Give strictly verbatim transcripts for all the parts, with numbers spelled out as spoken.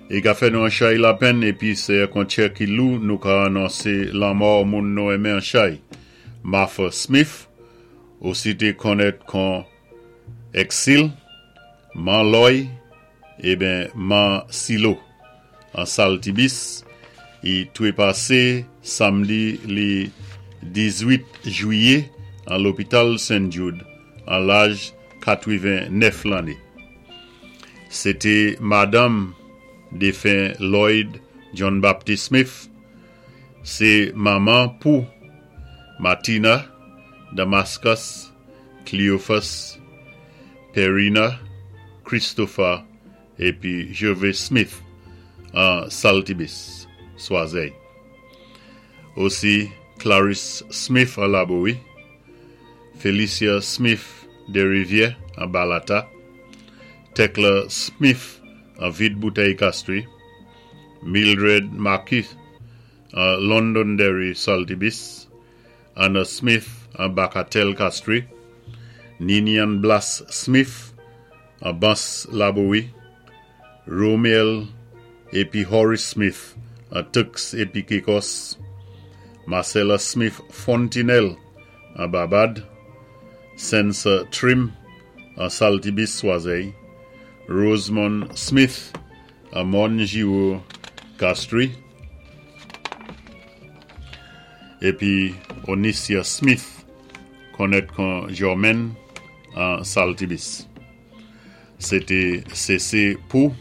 I ka fè nou an chay lapenn épi sé ak an tjè ki lou nou ka anonsé lanmò moun nou enmen an chay. Martha Smith, osi té konnèt kon Exil, Man Loy, ében Man Silo, an Saltibis, i twépasé samdi li diz-uit jwiyé an lopital Saint Jude an laj katwiven-nèf lanné. Sé té madanm défen Lloyd John Baptist Smith, sé manman pou Martina, Damascus, Cleophas, Perina, Christopher épi Gervais Smith an Saltibis, Swazey. Osi Clarice Smith an Laboui, Felicia Smith de Rivière an Balata, Tekla Smith an Vide Bouteille Castries, Mildred Marquis an Londonderry Saltibis, Anna Smith an Bacatel Castries, Ninian Blas Smith an Bans Laboui, Romiel épi Horace Smith an Turks épi Caicos, Marcella Smith Fontinelle an Barbad, Sensa Trim an Saltibis Swazey, Rosemond Smith an Morne Giraud Castries, épi Onicia Smith konnèt kon Germaine an Saltibis. Sé té C C pou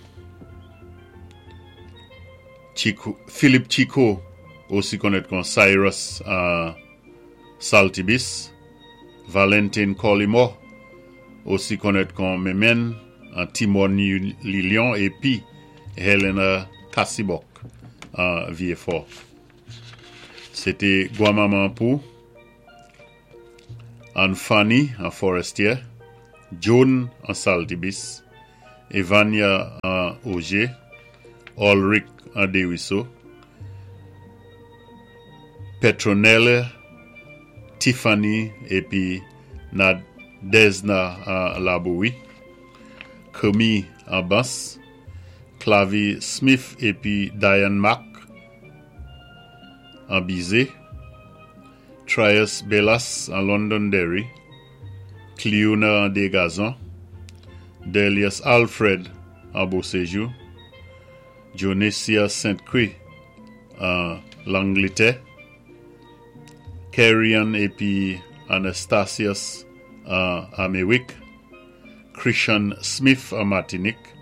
Chico, Philip Chico, osi konnèt kon Cyrus an Saltibis, Valentin Collymore, osi konnèt kon Memen an Timon Lilion, épi Helena Kassibok an Vieux-Fort. Sé té gwanmanman pou Anne Fanny an Forestier, Joan an Saltibis, Evania an Auger, Ulrich an Desruisseaux, Petronella, Tiffany épi Nadezna an Laboui, Camille an Bans, Clavi Smith épi Diane Mack an Bizet, Trias Bellas an Londonderry, Cleona an Degazon, Delius Alfred an Beauséjour, Jonesia Saint-Croix an Langletè, Kerryon épi Anastasius an Améwik, Christian Smith an Martinique,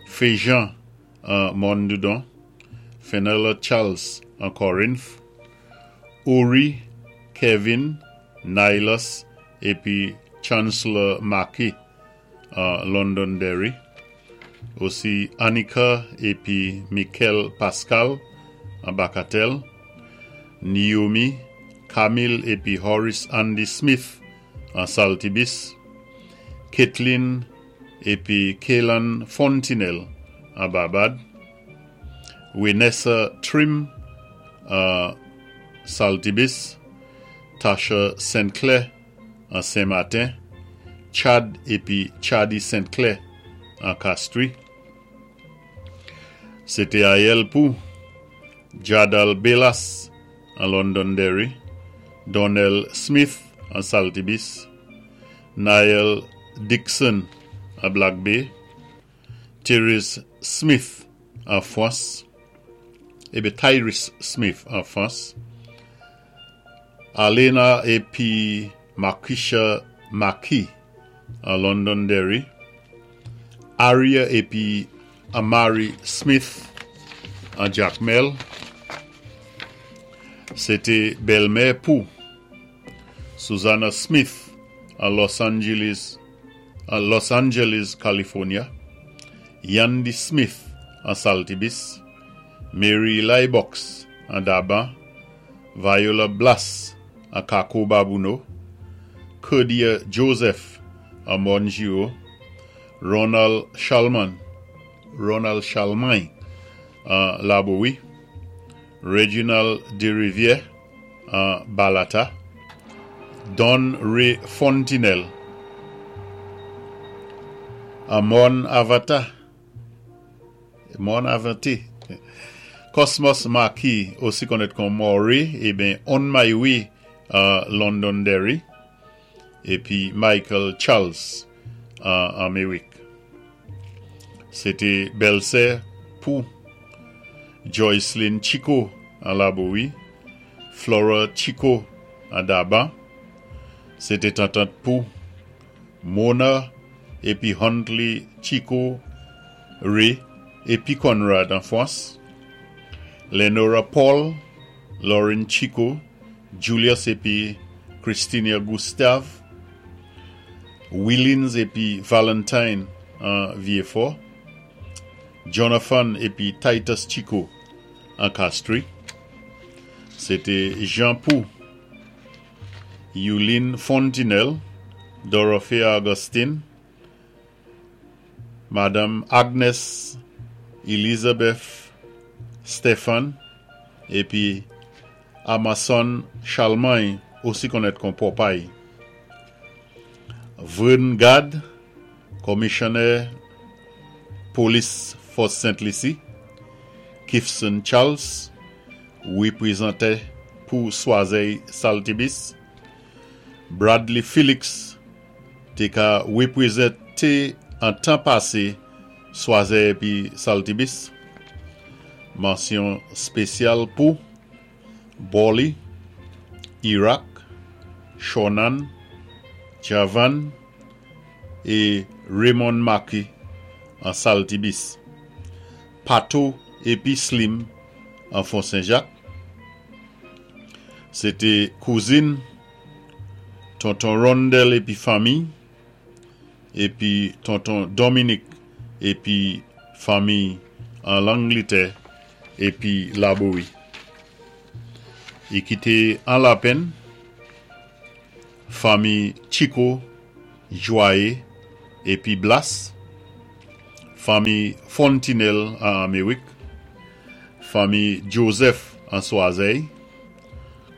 Féjean an Mondudon, Fenella Charles an Corinth, Uri, Kevin, Nilus épi Chancellor Mackey an Londonderry, osi Annika épi Michael Pascal an Bacatel, Naomi, Camille épi Horace Andy Smith an Saltibis, Caitlin épi Kaylan Fontinelle an Barbad, Winessa Trim an Saltibis, Tasha Saint Clair an Saint-Martin, Chad épi Chadi Saint Clair an Castries. Sé té ayèl pou Jadal Bellas an Londonderry, Donnell Smith an Saltibis, Niall Dixon an Black Bay, Therese Smith an Frans, ébi Tyrese Smith an Frans, Alena épi Marquisha Maki an Londonderry, Aria épi Amari Smith an Jacmel. Sé té bèlmè pou Susanna Smith an Los Angeles, an Los Angeles, California, Yandy Smith an Saltibis, Mary Lybox an Daban, Viola Blas an Kako Babouno, Kurdia Joseph an Monjio, Ronald Chalman, Ronald Chalmain an Laboui, Reginald Desrivières an Balata, Don Ray Fontinelle an Morne Avata. Mòn Avante. Cosmos Marquis, osi konnèt kon Maury, ében On My Way an Londonderry. Épi Michael Charles an Améwik. Sé té bèlsè pou Joycelyn Chico an Laboui, Flora Chico an Daban. Sé té tantant pou Mona épi Huntley Chico Ray épi Conrad an Fwans. Lenora Paul, Lauren Chico, Julius épi Christina Gustave, Willins épi Valentine an Vieux-Fort, Jonathan épi Titus Chico an Castries. Sé té Jean Pou, Yuline Fontinelle, Dorothea Augustine, Madame Agnes Elizabeth Stephen épi Amason Charlemagne, osi konnèt kon Popeye. Vern Gad, komisyonnè polis Fòs Sent-Lisi, Kifson Charles, wépwézantè pou Swazey Saltibus, Bradley Felix, té ka wépwézanté an tan pasé Swazey épi Saltibus. Mansyon spésyal pou Bolly, Irak, Shonan, Javan é Raymond Marquis an Saltibus. Pato épi Slim an Fon Saint-Jacques. Sé té kouzin Tonton Rondel épi fanmi épi Tonton Dominique épi fanmi an Langlétè épi Laboui. I kité an lapenn fanmi Chico, Joye épi Blas, fanmi Fontinelle an Améwik, fanmi Joseph an Swazey,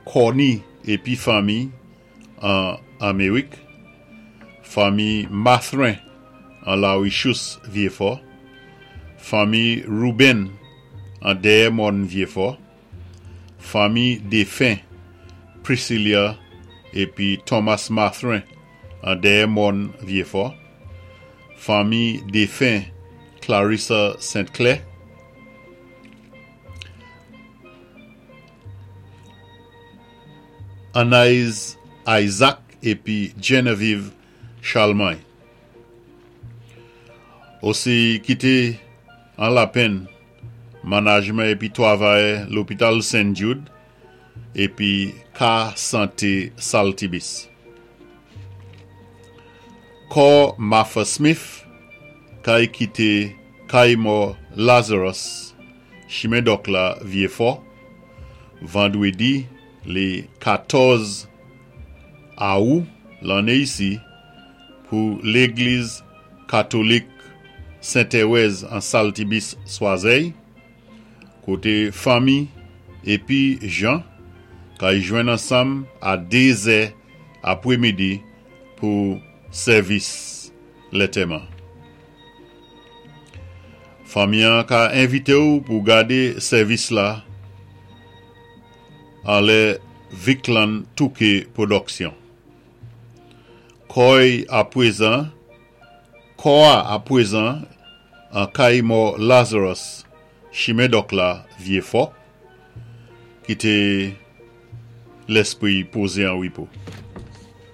Corny épi fanmi an Améwik, fanmi Mathrin an Larichous Vieux-Fort, fanmi Ruben an Dermon Vieux-Fort, fanmi défen Priscilla épi Thomas Mathrin an Dermon Vieux-Fort, fanmi défen Clarissa Sainte-Claire, Anaïs Isaac épi Genevieve Charlemagne. Osi kité an lapenn manajman épi twavayè lopital Saint Jude épi Ka Santé Saltibus. Kò Martha Smith kay kité kay mò Lazarus, chimen Dòk la Vieux-Fort, vandwédi lé katòz awou lanné isi pou légliz katolik Sent-Téwèz an Saltibus Swazey, koté fanmi épi jan kay jwenn ansanm a dézè apwémidi pou sèvis lantèman. Fanmi an ka envité ou pou gadé sèvis la anlè Viclan Touquet Production. Kò'y apwézan, kò a apwézan an kay mò Lazarus, chimen Dòk la Vieux-Fort, kité lèspwi'y pozé an wépo.